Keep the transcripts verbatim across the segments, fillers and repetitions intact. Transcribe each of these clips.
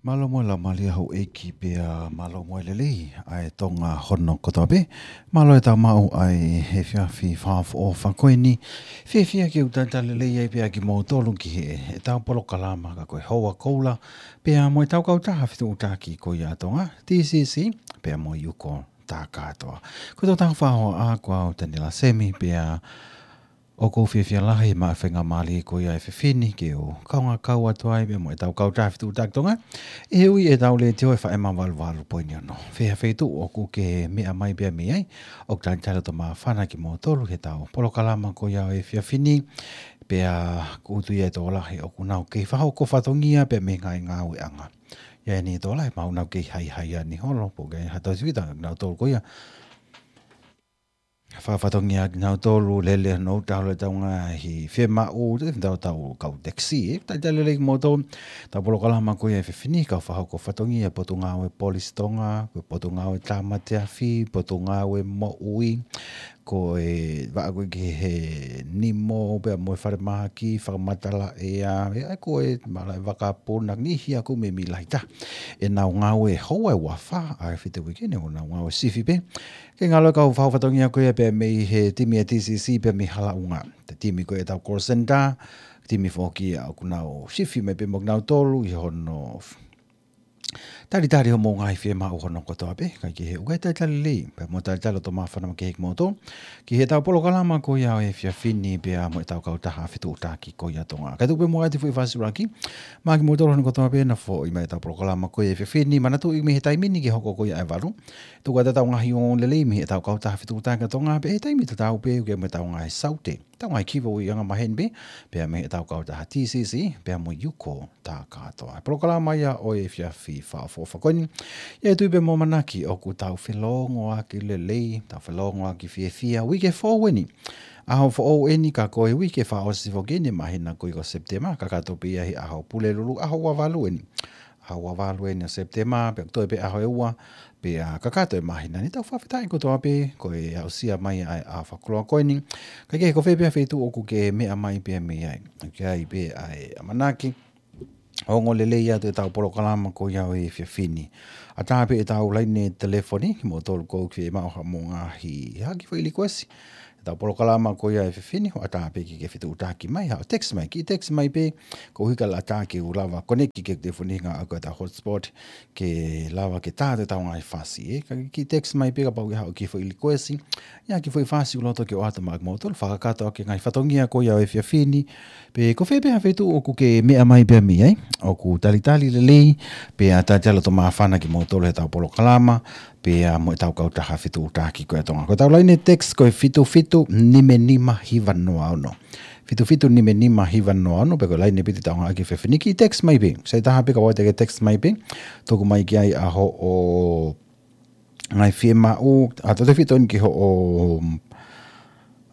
Mālō mo e laumālie houʻeiki pea mālō mo e lelei ʻa e Tonga hono kotoa pē. Mālō e tau maʻu ʻa e efiafi fakaʻofoʻofa ko eni. Fiefia ke u talitali lelei ai pea kimoutolu ki he, ʻetau polokalama ka ko e Houa Koula, pea mo e tau kautaha fetuʻutaki ko ia ʻa Tonga, T C C, pea mo e Uko Takatoa. Ko e tau faʻahoa ko au Taniela Semi, pea ʻoku ou fiefia lahi maʻu e faingamālie ko ia he efiafi ni ke u kaungā kau atu ai pea mo e tau kautaha fetuʻutaki Tonga, ʻi he ui ʻetau letiō ʻe FM valu valu poini ono. Fē ha feituʻu ʻoku ke meʻa mai pea mei ai, ʻoku talitali loto māfana kimoutolu he tau polokalama ko ia he efiafi ni, pea ʻoku ou tui ʻe tokolahi ʻoku nau kei fakahoko fatongia pea mei he ngaahi ngāueʻanga. ʻI ai ʻeni tokolahi ʻoku nau kei haihai ʻeni holo, pe ʻoku ʻi ai ha tau sivita, nautolu ko ia fakafatongia kinautolu, lele no tau le tau ngaahi fiemaʻu, te tau tau kau taxi, ē. Talitali lelei kimoutolu, tau polokalama ko ia he efiafi ni, kau fakahoko fatongia, Potungāue Polisi Tonga, ko e Potungāue Tāmate Afi, Potungāue Moʻui, ko e vaʻa ko ē ki he nimo, pea mo e falemahaki, fakamatala ʻea, ʻe ai ko e malaʻe vakapuna, niʻihi ʻoku meimei lahi taha ʻenau ngāue he houa ʻe ua fā, ʻa e fitu uike ni, ʻoku nau ngāue sifi pē. Ke ngalo kau fakahoko fatongia ko ia pea mei he timi ʻa e T C C pea mei Halaʻunga. Te timi ko ia ʻetau call center, timi foki ia ʻoku nau sifi mai pē mo kinautolu ʻi hono talitali hoʻomou ngaahi fiemaʻu hono kotoa pē, kae kehe ʻoku ke talitali lelei, pea mo talitali loto māfana makehe kimoutolu ki he tau polokalama ko ia he efiafi ni pea mo e tau kautaha fetuʻutaki ko ia Tonga. Kae tuku pē muʻa atu e foʻi fasi ʻuluaki maʻa kimoutolu hono kotoa pē naʻa foʻi mai e tau polokalama ko ia he efiafi ni, manatuʻi mei he taimi ni ki he hoko ko ia ʻa e valu. Tuku atu e tau ngaahi ongoongolelei mei he tau kautaha fetuʻutaki ʻa Tonga, pea ʻi he taimi tatau pē ʻoku ʻi ai mo e tau ngaahi saute, tau ngaahi kiʻi foʻi anga maheni pē, pea mei he tau kautaha T C C, pea mo e Uko Takatoa. Polokalama ia ʻo e efiafi fakaʻofoʻofa ko eni. ʻI ai e tui pea mo e ʻamanaki ʻoku tau felōngoaki lelei, tau felōngoaki fiefia, uike foʻou ʻeni. ʻAho foʻou ʻeni ka ko e uike fakaʻosi foki ʻeni māhina ko ia ko Sepitema, kakato pē ia he ʻaho Pulelulu, ʻaho ua valu ʻeni. ʻAho ua valu ʻeni ʻo Sepitema, pea toe pē ʻaho ʻe ua, pea kakato e māhina ni. Tau fakafetaʻi kotoa pē, ko e aʻusia mai ʻa e ʻaho fakakoloa ko eni. Kae kehe ko fē pē ha feituʻu ʻoku ke meʻa mai pea mei ai, ʻoku ʻi ai pē ʻa e ʻamanaki ʻo ongoongolelei atu e tau polokalama ko ia he efiafi ni. ʻAtā pē e tau laine telefoni, kimoutolu ʻoku ke fiemaʻu haʻamou ngaahi, ha kiʻi foʻi likuesi he tau polokalama ko ia he efiafi ni, ʻoku ʻatā pē ke ke fetuʻutaki mai, haʻu text mai, kiʻi text mai pē, koeʻuhi kae ʻatā ke u lava connect ki he telefoni he ʻoku ʻi ai e tau hotspot, ke lava ke tā atu e tau ngaahi fasi, ē. Ka kiʻi text mai pē kapau ʻoku ʻi ai haʻo kiʻi foʻi likuesi, ʻi ai ha kiʻi foʻi fasi ʻoku loto ke ʻoatu maʻa kimoutolu, fakakakato ʻaki e ngaahi fatongia ko ia he efiafi ni, pe ko fē pē ha feituʻu ʻoku ke meʻa mai pea mei ai, ʻoku talitali lelei, pea talitali loto māfana kimoutolu he tau polokalama, pea mo e tau kautaha fetuʻutaki ko ia Tonga. Ko e tau laine text ko e fitu fitu nima nima hiva noa ono. Fitu fitu nima nima hiva noa ono, pe ko e laine pē te tau ngāueʻaki he efiafi ni, kiʻi text mai pē. Sai taha pē kapau te ke text mai pē, tuku mai ki ai ʻa hoʻo ngaahi fiemaʻu, ʻa tautefito ʻeni ki hoʻo,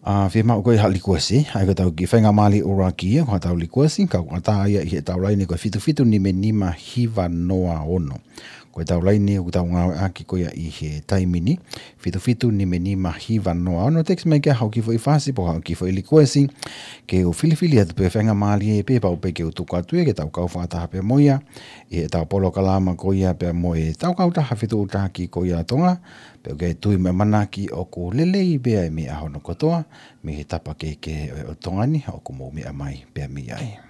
ʻa, fiemaʻu ko ia ha likuesi, ʻa ia ko e tau kiʻi faingamālie ʻuluaki ia, ko ha tau likuesi, ka ʻoku ʻatā ia ʻi he tau laine ko e fitu fitu nima nima hiva noa ono. Ko e tau laine ʻoku tau ngāueʻaki ko ia ʻi he taimi ni, fitu fitu nima nima hiva noa ono, text mai ki ai haʻo kiʻi foʻi fasi, pe ko haʻo kiʻi foʻi likuesi, ke u filifili atu pē faingamālie pē pau pē ke u tuku atu ia ke tau kau fakataha pē mo ia ʻi he tau polokalama ko ia pea mo e tau kautaha fetuʻutaki ko ia Tonga, pea ʻoku ou tui mo ʻamanaki ʻoku lelei pē ʻa e meʻa hono kotoa, mei he tapa kehekehe ʻo Tonga ni, ʻoku mou meʻa mai pea mei ai.